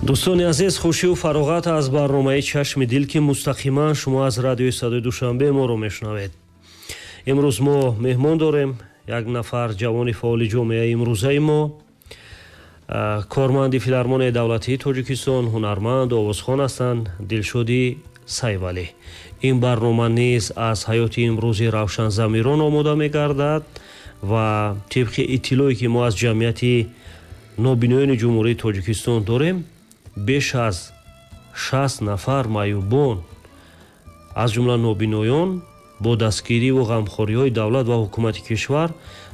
Дӯстони азиз, хушию фароғат аз барномаи «Чашми дил», ки мустақиман шумо аз радиои «Садои Душанбе» моро мешунавед. Имрӯз мо меҳмон дорем, як нафар ҷавони фаъоли ҷомеаи имрӯзаи мо, корманди Филармонияи давлатии Тоҷикистон, ҳунарманд, овозхон ҳастанд, Дилшоди Сайвалӣ. Ин барнома низ аз ҳаёти имрӯзи равшанзамирон омода мегардад ва тибқи иттилое, ки мо аз Ҷамъияти нобиноёни Ҷумҳурии Тоҷикистон дорем, беш аз 60 нафар маъюбон, аз ҷумла нобиноён, бо дастгириву ғамхориҳои давлат ва ҳукумати кишвар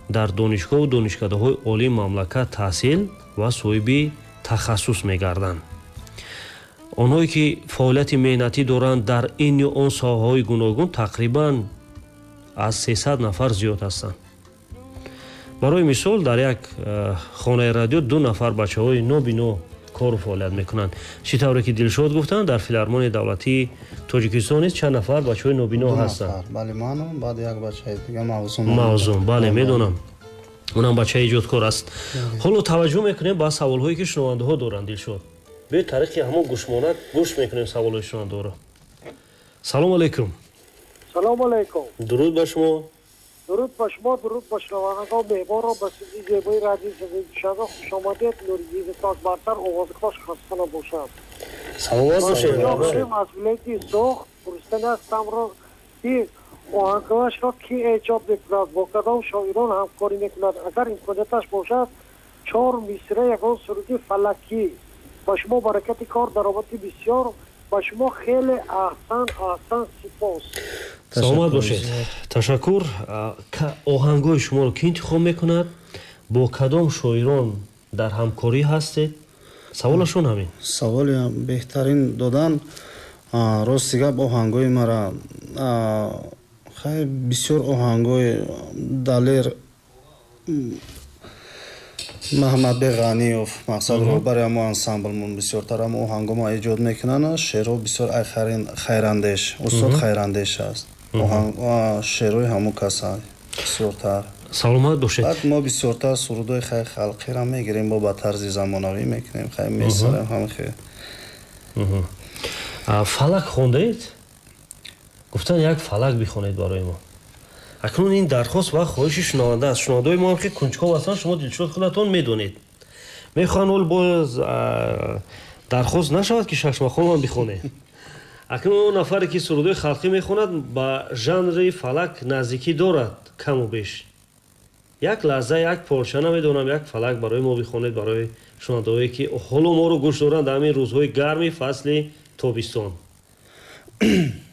дар донишгоҳу донишкадаҳои олии мамлакат таҳсил ва соҳиби тахассус мегарданд. Онҳое, ки фаъолияти меҳнатӣ доранд дар ин ё он соҳаҳои гуногун, тақрибан аз 300 нафар зиёд ҳастанд. Барои мисол, дар як хонаи радио ду нафар бачаҳои нобино кору фаъолият мекунанд. Чӣ тавре ки Дилшод гуфтанд, дар Филармонияи давлатии Тоҷикистон низ чанд нафар бачаҳои нобино ҳастанд. Мавзун, бале, медонам, унам бачаи эҷодкор аст. Ҳоло таваҷҷӯҳ мекунем ба саволҳое, ки шунавандаҳо доранд. Дилшод, биёед, тариқи ҳамон гӯшмонак гӯш мекунем саволҳои шунавандаҳоро. Салому алайкум. Салому алайкум. Дуруд ба шумо. Дуруд ба шумо, дуруд ба шунавандагон, меҳмонро ба студияи зебои радиои «Садои Душанбе» хушомадед. Нуриддини тоҷ бартар, овози хош, хаста набошад. Саломат бошед. Аз вилояти Суғд пурсидани ҳастамро, ки оҳангҳояшро кӣ эҷод мекунад, бо кадом шоирон ҳамкорӣ мекунад? Агар имконияташ бошад, чор мисра ягон суруди фалакӣ. Ба шумо баракати кор, даромади бисёр, ба шумо хеле аҳсан, аҳсан, сипос. Саломат бошед, ташаккур. Оҳангҳои шуморо кӣ интихоб мекунад, бо кадом шоирон дар ҳамкорӣ ҳастед? Саволашон ҳамин. Саволи беҳтарин додан. Рости гап, оҳангҳои мара хай бисёр оҳангҳои Далер Маҳмадбек Ғаниев, мақсад, роҳбари ҳамо ансамблмон, бисёртар ҳамо оҳангҳомо эҷод мекунанд. Шеърҳо бисёр Хайрандеш, устод Хайрандеш аст, шеърҳои ҳамо каса бисёртар. Саломат бошед. Баъд мо бисёртар сурудҳои хай халқиро мегирем, бо ба тарзи замонавӣ мекунем, хай месарем ҳама хел. Фалак хондаед, гуфтан, як фалак бихонед барои мо. Акнун ин дархост ва хоҳиши шунаванда аст. Шунавандаҳои мо ҳам ки кунҷков ҳастанд, шумо, Дилшод, худатон медонед, мехоҳанд ҳол боз дархост нашавад, ки шашмақомам бихонед. Акнун он нафаре, ки сурудҳои халқӣ мехонад, ба жанри фалак наздикӣ дорад каму беш. Як лаҳза, як порча, намедонам, як фалак барои мо бихонед, барои шунавандаҳое, ки ҳоло моро гӯш доранд дар ҳамин рӯзҳои гарми фасли тобистон.